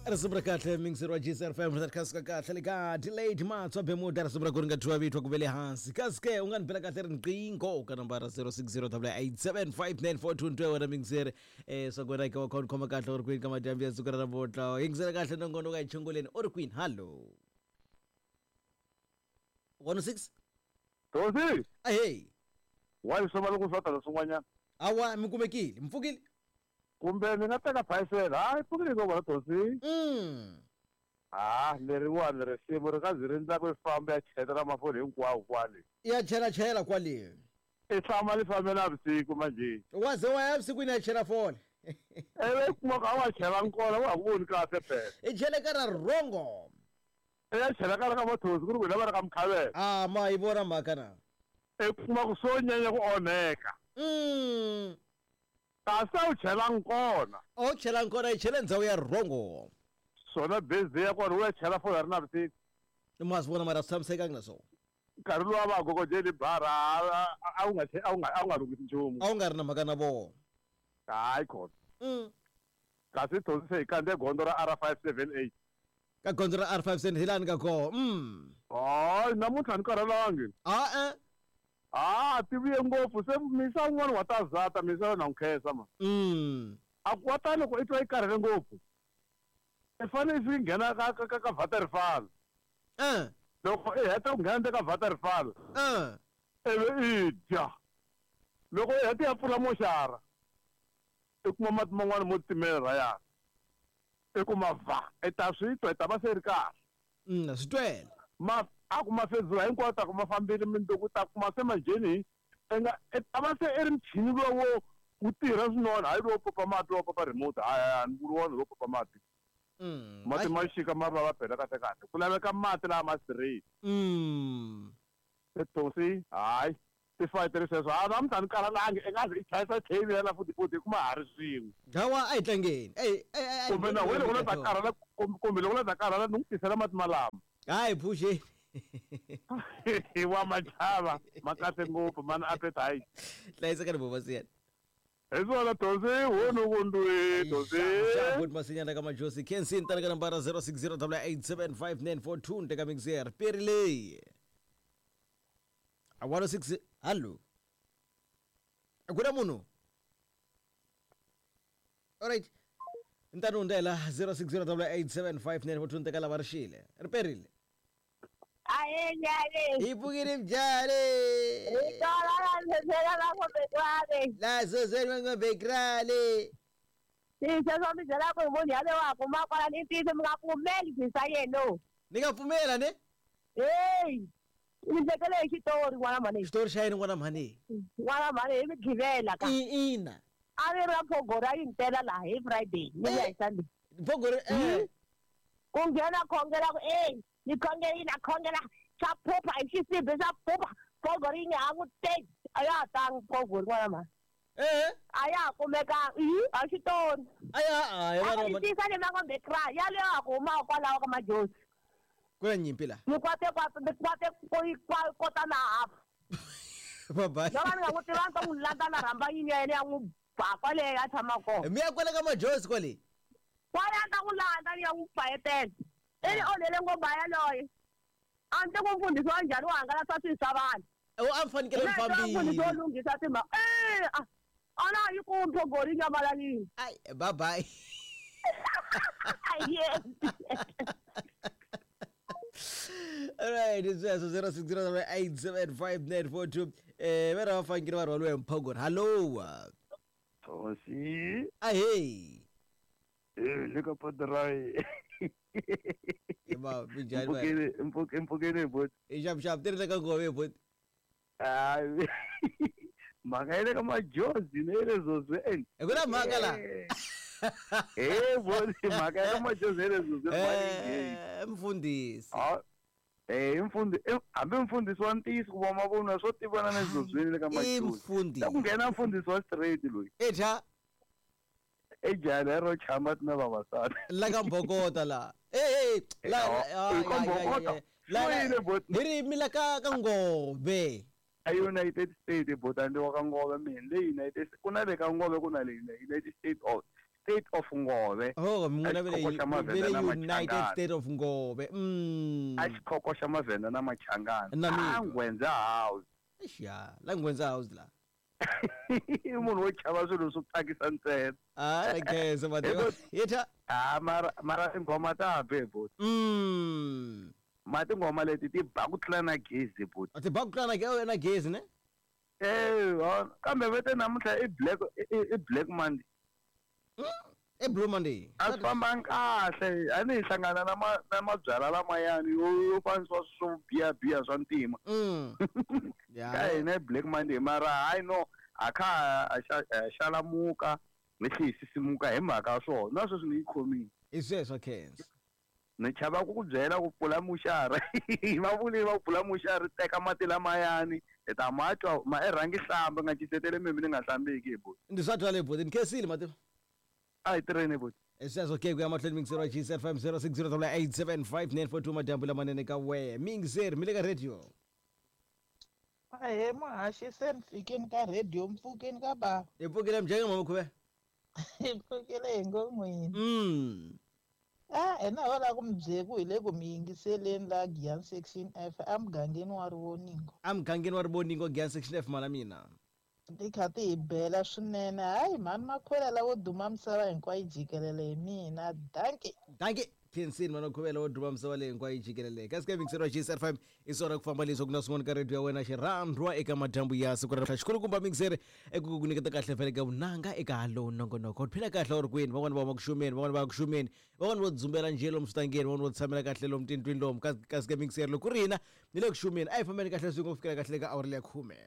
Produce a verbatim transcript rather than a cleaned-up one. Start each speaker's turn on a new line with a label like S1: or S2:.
S1: Risimu ra kahle mixer wa G S F M ri ka kahle le ka delayed matswa bemuda risimu ra ku ri nga thwiwa vitwa ku ve le hansi kasi ke u nga ni bela kahle riqingho ka nambara zero six zero eight seven five nine four two two wena mixer eh swa ku wena ke wa khona khoma kahle u ri kwini ka madyambu ya siku ra namuntlha yingisela kahle nongonoko ka yichunguleni u ri kwini hallo one six
S2: Tosi
S1: ahey
S2: wa swi va loko swa tala swin'wanyana
S1: awa mi kumekile mi pfukile
S2: kumbe ni nga teka phayisela hayi pfukile ko vona Tosi
S1: mm
S2: ah leriwani risimu ri nga zi ri ndla ku famba ya chela mafoni hinkwawo kwale
S1: ya chela chela kwale
S2: i tshama li fambela vusiku manje
S1: wa ze wa ya vusikwini ya chela fole
S2: ewe kuma ka wa chela nkona wa voni kahle phela
S1: i chele ka ra rongo
S2: e ya chela ka ra ka Mathosi ku ri wena va ri ka Mkhavela
S1: ah ma yi vona mhaka na
S2: e kuma ku swo nyanya ku onheka
S1: mm
S2: kasi a wu chela nkona
S1: a wu chela nkona yi chele ndzhawu ya rongo
S2: swona bezi ya kona u ya chela fona ri na vusiku
S1: ma swi vona mara swi tshamisekangi na swona
S2: nkarhi lowu a va gogojeli bara a wu nga a wu nga a wu nga lunghisi nchumu
S1: a wu nga ri na mhaka na vona
S2: hayi khona
S1: mm
S2: kasi Tosi se hi kandze gondzo ra R five seven eight
S1: ka gondzo ra R five seven hi lani ka koho mm
S2: hayi namuntlha ni karhalangi
S1: a e
S2: ah ti vuye ngopfu se misa un'wana wa ta zata misa na nkhensa ma
S1: mm
S2: a ku wa ta loko i twa yi karhele ngopfu i fanele i nghena ka ka ka waterfall
S1: eh
S2: loko i heta ku nghena ka waterfall
S1: eh
S2: ivi i dya loko i heta ya pfula moxara i kuma mati man'wana mo timela rayana i kuma va i ta swi twa i ta va se ri kahle
S1: mm swi twela
S2: ma a ku mafezula hinkwawo ta kuma fambile minduku ta kuma se manjheni i nga i ta va se i ri muchini lowo wu tirha swinene hayi lowo popa mati lowo popa remote hayi ni vuli wona lowo popa mati
S1: mm
S2: mati ma xika ma va va bela kahle kahle ku laveka mati lama straight
S1: mm
S2: Tosi hayi ti fighteri sweswo a namuntlha ni karhalangi i nga zi i chayisa chain ya la futhi futhi kuma ha ri swin'we
S1: hawa a hi tlangeni ey ey
S2: kumbe na wena loko la ta karhala kumbe loko la ta karhala ni n'wi tisela mati malama
S1: hayi phuxeni
S2: wa machava ma kahle ngopfu mana appetite
S1: hlayiseka ni bobasiyana
S2: hi swona Tosi wonu kundwi Tosi
S1: good masinyana ka Majosi Kensin tala ka nambara zero six zero eight seven five nine four two nteka mixer peri one six hallo akuna munhu alright ntanu ndela zero six zero eight seven five nine four two nteka lava ri xile ri perile
S3: aye nyale
S1: ipukile mjale
S3: itola la la ngombe
S1: la zozeni ngombe krale
S3: sisho mi byela ku munhu yale wa kuma kwala ni ntiyiso mi nga pfumeli sisa yeno
S1: ni nga pfumela ne
S3: hey ni tekele hi xitori n'wana mhani
S1: xitori xa yini n'wana mhani
S3: n'wana mhani hi mi givela ka
S1: ina
S3: a ri ra phogora yi ntela laha hi Friday ni vuya hi Sunday
S1: phogora eh
S3: ku nghena khongela ku ey ni khongela na khongela swa phupha hi xisibi swa phupha phogora yi nga ha n'wi teki a ya ha tangi phogori n'wana mhani
S1: eh
S3: a ya ha kumekanga i a xitori
S1: a ya a
S3: ya va tisa ni mangombe kra yaleyo a ku huma kwalaho ka Majosi
S1: ku na nyimpi la
S3: ni kwate kwate ni kwate ko kota na half
S1: bye bye
S3: loko ni nga n'wi tiva ni ta n'wi landza na rhamba yini ya yena ya n'wi ba kwale a tshama kona
S1: mi ya kwale ka Majosi kwale
S3: kwale a ta n'wi landza ni ya n'wi fayetela i ni onhele ngomba yaloye a ndzi ku mfundhisi wa njhani wo hangalasa swilo swa vanhu
S1: o a mi fanekele mi fambile
S3: mfundhisi wo lunghisa timhaka e a na yi ku mphogori yi nyamalalile
S1: ai bye bye
S3: yes
S1: All right, it's zero six zero eight seven five nine four two. Eh, vera vafanekele va rhwaliwe hi mphogori. Hallo.
S2: Tosi.
S1: Ahey.
S2: Eh, le ka padrai.
S1: Eba, minjhani ba?
S2: Mpfukele, mpfukele bot.
S1: I xap xap tirhisa ka ngove bot.
S2: Ah. Mhaka ya le ka Majosi ne le zozweni.
S1: Ku na mhaka la.
S2: Eh, bot, mhaka ya ka Majosi ne le zozweni.
S1: Eh, mfundhisi.
S2: Ah. Eh, mfundhisi, hambi mfundhisi wa ntiyiso ku va mavonwa swo tivana na zozweni le ka Majosi.
S1: Mfundhisi.
S2: Ku nghena mfundhisi wa straight loyi.
S1: Eja.
S2: E jana ro chama na vavasati.
S1: La ka Mbokota la. Eh eh la
S2: la
S1: la hi ri mi la ka ka Ngove.
S2: A United States botandi wa ka Ngove mina le United ku na le ka Ngove ku na le United States of States of Ngove.
S1: Oh, min'wina ve
S2: Xikhoko xa
S1: le
S2: Mavhenda
S1: ve le
S2: na
S1: United
S2: Machangana.
S1: States of Ngove. Mm.
S2: A xikhoko xa Mavhenda na Machangana.
S1: Na mina.
S2: A Nghwendza House.
S1: Eish, ya la Nghwendza House la.
S2: I munhu wo chava swilo swo tsakisa ntsena.
S1: Ah, la khensa mativa. Yetha.
S2: Ah, mara mara tinghoma ta be bot.
S1: Mm.
S2: Ma tinghoma leti ti ba ku tlula na gezi bot.
S1: A ti ba ku tlula na ge- na gezi ne?
S2: Eh, ha, kambe vete namuntlha i black i- i i Black Monday.
S1: I Blue Monday.
S2: A swi fambangi kahle a ni hi hlangana na ma na mabyalwa lamayani yo yo fanisiwa swo biha biha swa ntima.
S1: Mm.
S2: Ka
S1: Ya.
S2: hina i Black Monday mara hayi no a kha ha xa- ha xalamuka hi tlhe hi sisimuka hi mhaka ya swona na sweswi ni yi khomile.
S1: I sweswo khensa.
S2: Ni chava ku ku byela ku pfula muxara va vule va pfula muxara teka mati lamayani hi ta ma twa ma i rhangi hlamba nga cisetele mimi ni nga hlambiki hi buti.
S1: Ndi swa twala buti, ni khensile mativa.
S2: A hi tirheni buti.
S1: I sweswo ke ku ya mahlweni mingiseri wa G S F M zero six zero double eight seven five nine four two madyambu lamanene ka wehe. Mingiseri mi le ka radio.
S4: Ahee muhaxi se ni fikini ka radio mpfukeni ka bava.
S1: Hi pfukile mjenge mama khuve.
S4: Hi pfukile hi ngo n'wini.
S1: Mm.
S4: A hina ho lava ku mi byela ku hi le ku mi yingiseleni la Giyani Section F emugangeni wa Rivoningo.
S1: Emugangeni wa Rivoningo Giyani Section F mana mina.
S4: Ti kha ti hi bela swinene hayi mhani makhwela lavo duma misava hinkwayo jikelele hi mina dankie.
S1: Dankie. Khensini mana khuvela wo duma misava leyi hinkwayo jikelele. Kasi ka mingiseri wa G S F M i swona ku famba leswi ku na swin'wana ka radio ya wena xirhandwa eka madyambu ya siku ra namuntlha. Xikulukumba mingiseri eku ku nyiketa kahle vhele ka vunanga eka lowu nongonoko. U phila kahle u ri kwini? Van'wani va huma ku xumeni, van'wani va ya ku xumeni, van'wani vo dzumbela njhe lomu switangeni, van'wani vo tshamela kahle lomu tindlwini lomu. Kasi kasi ka mingiseri loko ku ri hina ni le ku xumeni a hi fambeni kahle swin'we ku fikela kahle ka awara leya khume.